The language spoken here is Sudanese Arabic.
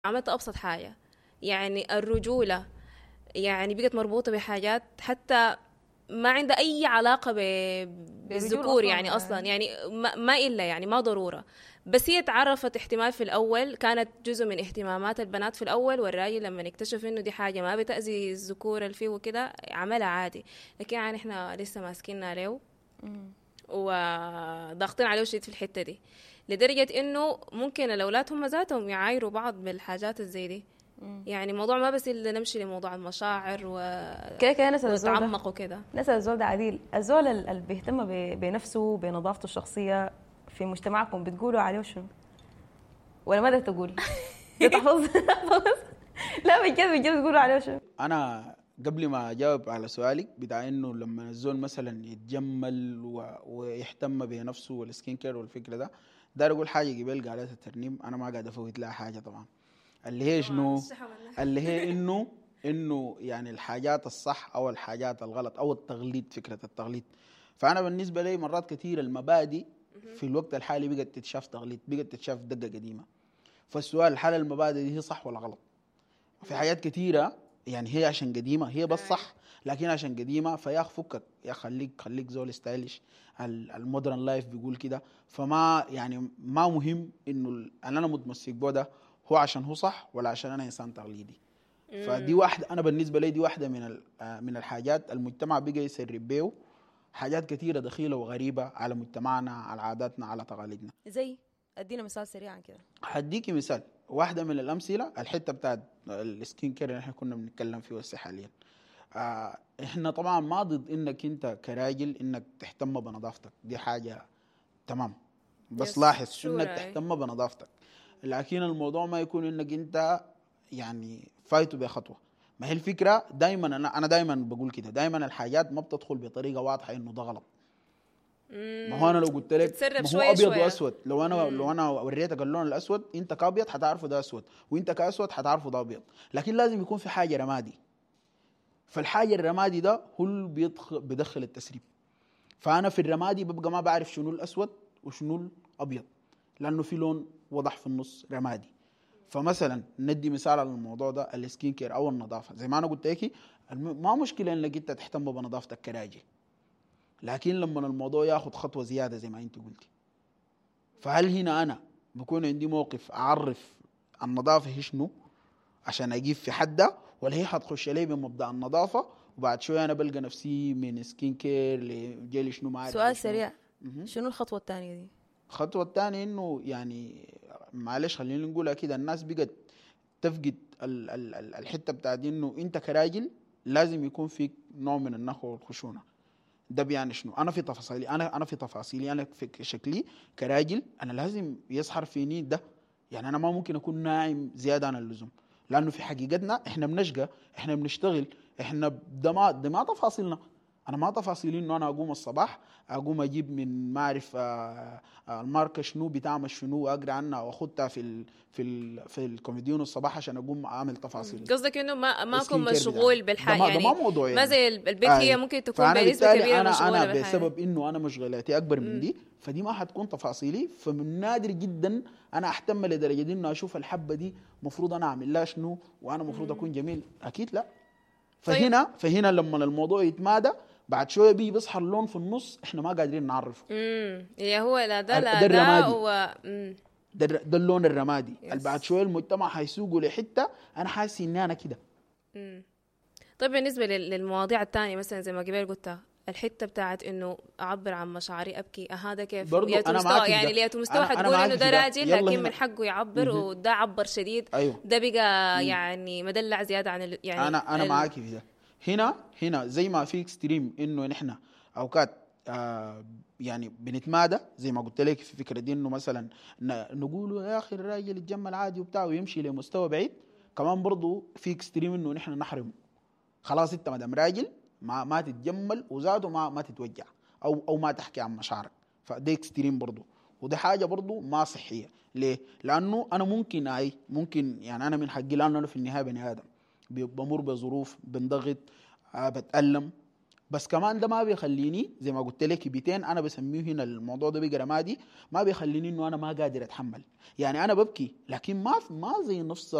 عملت ابسط حاجه. يعني الرجولة يعني بقت مربوطة بحاجات حتى ما عندها اي علاقة بالذكور. أصلاً. يعني اصلا يعني ما الا يعني ما ضروره، بس هي تعرفت احتمال في الاول كانت جزء من اهتمامات البنات في الاول، والراجل لما اكتشف انه دي حاجة ما بتاذي الذكور اللي فيه وكده عملها عادي. لكن يعني احنا لسه ماسكينها له وضاغطين عليه شديد في الحتة دي، لدرجة انه ممكن الاولاد هم ذاتهم يعايروا بعض بالحاجات الزي دي. يعني الموضوع ما بس الا نمشي لموضوع المشاعر كده كده نسال الزول ده. ونتعمق وكده. نسال الزول ده عديل، الزول اللي بيهتم بنفسه، بنظافته الشخصيه، في مجتمعكم بتقولوا عليه شنو؟ ولا ما تقول؟ تحفظ؟ لا بجد بجد، بتقولوا عليه شنو؟ انا قبل ما اجاوب على سؤالك بتاع انه لما الزول مثلا يتجمل ويهتم بنفسه وال skin care والفكرة ده، داير اقول حاجة قبل قالتها الترنيم، انا ما قاعد افوت لها حاجة طبعا، اللي هي شنو؟ اللي هي انه يعني الحاجات الصح او الحاجات الغلط او التغليط، فكرة التغليط. فانا بالنسبة لي مرات كثير المبادئ في الوقت الحالي بقت تتشاف تغليط، بقت تتشاف دقه قديمه. فالسؤال: هل المبادئ دي هي صح ولا غلط؟ في حاجات كثيرة يعني هي عشان قديمة هي بس صح، لكن عشان قديمة فيا اخ فكك يا خليك خليك زول stylish، ال modern life بيقول كده. فما يعني ما مهم انه انا متمسك به ده هو عشان هو صح ولا عشان انا انسان تقليدي. فدي واحده، انا بالنسبة لي دي واحدة من الحاجات المجتمع بقى يسرب بيه حاجات كثيرة دخيله وغريبة على مجتمعنا، على عاداتنا، على تقاليدنا. زي؟ ادينا مثال سريعا كده. هديكي مثال، واحدة من الامثلة الحتة بتاعت ال skin care اللي احنا كنا بنتكلم فيه هسه حاليا. احنا طبعا ما ضد انك انت كراجل انك تهتم بنظافتك، دي حاجة تمام، بس لاحظ انك تهتم بنظافتك، لكن الموضوع ما يكون انك انت يعني فايته بخطوه. ما هي الفكرة دائما، انا دائما بقول كده، دائما الحاجات ما بتدخل بطريقة واضحة انه ده غلط. ما هو انا لو قلت لك تتسرب ما هو شوية ابيض شوية. واسود، لو انا وريتك اللون الاسود، انت كابيض حتعرفه ده اسود، وانت كاسود حتعرفه ده ابيض، لكن لازم يكون في حاجة رمادي. فالحاجه الرمادي ده هو اللي بيدخل التسريب. فانا في الرمادي ببقى ما بعرف شنو الاسود وشنو الابيض، لانه في لون وضح في النص رمادي. فمثلا ندي مثال على الموضوع ده، ال skin care او النظافه، زي ما انا قلت لك، ما مشكلة انك انت تهتم بنظافتك كراجل، لكن لما الموضوع ياخذ خطوة زيادة زي ما انت قلتي، فهل هنا انا بكون عندي موقف اعرف النظافة هي شنو عشان اجيب في حدها، ولا هي حتخش لي بمبدا النظافة وبعد شوية انا بلقى نفسي من skin care لجيل شنو ما عارف سؤال شنو؟ سريع. مهم. شنو الخطوة الثانية دي؟ الخطوة الثانية انه يعني معلش خلينا نقولها كده، الناس بقت تفقد ال ال الحتة بتاعت انه انت كراجل لازم يكون فيك نوع من النخوه والخشونه. ده بيعني شنو؟ انا في تفاصيلي، انا في شكلي كراجل، انا لازم يظهر فيني ده. يعني انا ما ممكن اكون ناعم زيادة عن اللزوم، لانه في حقيقتنا احنا بنشقى، احنا بنشتغل، احنا ده ما تفاصيلنا. انا ما تفاصيلي انه انا اقوم الصباح اقوم اجيب من ما اعرف الماركة شنو، بتعمل شنو، واقرا عنها واخدها في الكوميديون الصباح عشان اقوم اعمل تفاصيل قصدك انه ما اكون ال skin care مشغول بتاعي. بالحاجه. ده يعني ما موضوع ما يعني. زي البيت هي ممكن تكون فأنا بنسبة بالتالي كبيرة انا مشغولة انا بالحاجة. بسبب انه انا مشغلاتي اكبر من دي، فدي ما حتكون تفاصيلي. فمن نادر جدا انا اهتم لدرجة انه اشوف الحبة دي مفروض انا اعمل لها شنو وانا مفروض اكون جميل، اكيد لا. فهنا لما الموضوع يتمادى بعد شوية بيجي بيظهر لون في النص احنا ما قادرين نعرفه. يا هو لا ده لا ده ده الرمادي. و. ده اللون الرمادي اللي بعد شوية المجتمع حيسوقه لحته انا حاسس اني انا كده. طيب، بالنسبة للمواضيع الثانية، مثلا زي ما قبل قلت الحتة بتاعت انه اعبر عن مشاعري، ابكي، هذا كيف؟ برضو لياتو أنا مستوى معاك في يعني ده. لياتو مستوى أنا حتقول معاك انه في ده ده. راجل يلا لكن هنا. من حقه يعبر، وده عبر شديد، ده بقى يعني مدلع زيادة عن يعني انا معاك في ده. هنا زي ما في extreme انه نحن اوقات يعني بنتمادى زي ما قلت لك في فكرة دي، انه مثلا نقول يا اخي الراجل يتجمل عادي وبتاع ويمشي لمستوى بعيد. كمان برضو في extreme انه نحن نحرمه، خلاص انت ما دام راجل ما تتجمل وزاته ما تتوجع او ما تحكي عن مشاعرك. فده extreme برضو، وده حاجة برضو ما صحيه. ليه؟ لانه انا ممكن اي ممكن يعني انا من حقي، لانه انا في النهاية بني ادم بمر بظروف، بنضغط، بتالم، بس كمان ده ما بيخليني زي ما قلت لك بيتين انا بسميه هنا الموضوع ده بقى رمادي، ما بيخليني انه انا ما قادر اتحمل. يعني انا ببكي لكن ما زي نفس